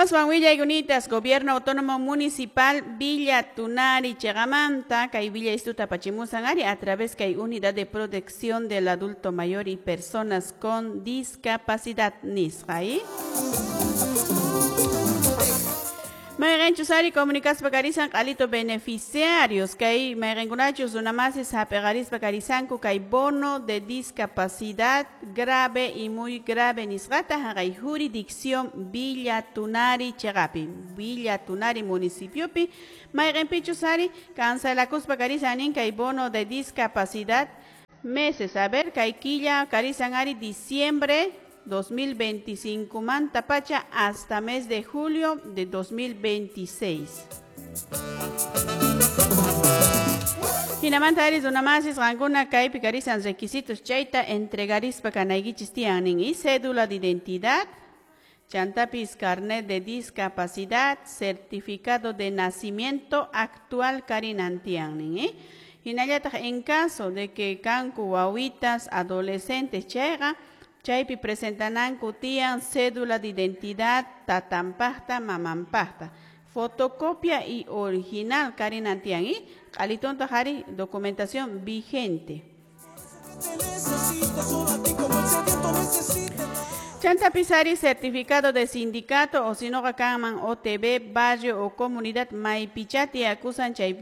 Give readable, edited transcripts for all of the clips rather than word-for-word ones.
Aswan willaykunatas Gobierno Autónomo Municipal Villa Tunari chiqamanta kay willaystuta apachimusan ari a través kay Unidad de Protección del Adulto Mayor y Personas con Discapacidad nisqa. Mayqinchus ari comunicaspa karisan q'alito beneficiarios kay mayqinkunachus runamasis hap'iqarispa karisanku kay bono de discapacidad grave y muy grave nisqata haqay jurisdicción Villa Tunari chiqapi Villa Tunari municipiopi mayqinpichus ari cancelakuspa karisan nin kay bono de discapacidad meses, a ver, kay killa karisan ari diciembre 2025 manta pacha hasta mes de julio de 2026. Hinamanta ari runamasis qankuna kaypi karisan requisitos chayta entregarispa kanaykichis tiyan nin y cédula de identidad, chantapis carnet de discapacidad, certificado de nacimiento actual karinantian nin. Hinallataq en caso de que kanku wawitas adolescentes chayqa chaypi presentananku tiyan cédula de identidad tatampaqta mamampaqta, fotocopia y original karinantian y q'alitontaq ari documentación vigente. Chantapis ari certificado de sindicato o si no kanman OTB, barrio o comunidad maypichati acusan chay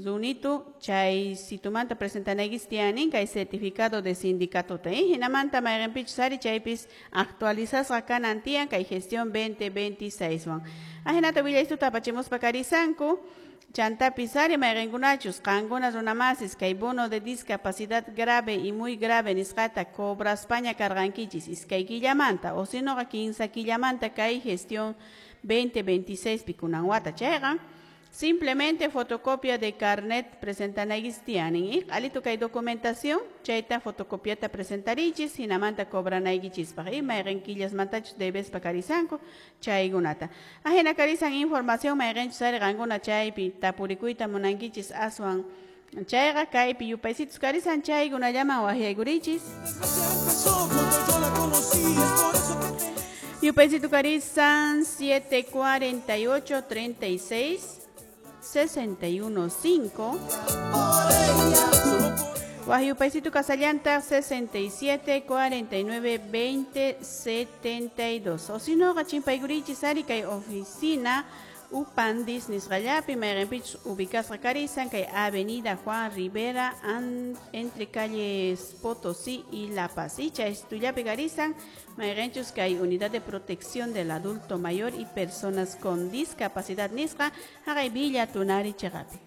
runitu chay situmanta presentanaykis tiyanin kay certificado de sindicato ta hinamanta mayqinpichus ari chaypis actualizasqa kanan tiyan kay gestión 2026 wan. Ajinata willaystuta apachimuspa karisanku. Chantapis ari mayqinkunachus qankuna runamasis kay bono de discapacidad grave y muy grave nisqata cobraspaña karqankichis iskay killamanta o si noqa kinsa killamanta kay gestión 2026 pikunan wata chayqa simplemente fotocopia de carnet presentanaykis tiyanin y q'alito kay documentación chayta fotocopiata presentarichis hinamanta cobranaykichispaq y mayqin killasmantachus debespa karisanku chaykunata. Ajina karisan información mayqinchus ari qankuna chaypi tapurikuyta munankichis aswan chayqa kaypi yupaysitus karisan chaykunallaman waqyaykurichis. Yupaysitu karisan 748 36 61 5. Guajyupaysito Casallanta 67 49 20 72. O si no, Gachimpaigurichis ari kay oficina Upandis nisqallapi mayqinpichus ubicasqa karisan kay Avenida Juan Rivera entre calles Potosí y La Paz. Y chaystullapi karisan mayqinchus kay Unidad de Protección del Adulto Mayor y Personas con Discapacidad nisqa haqay Villa Tunari chiqapi.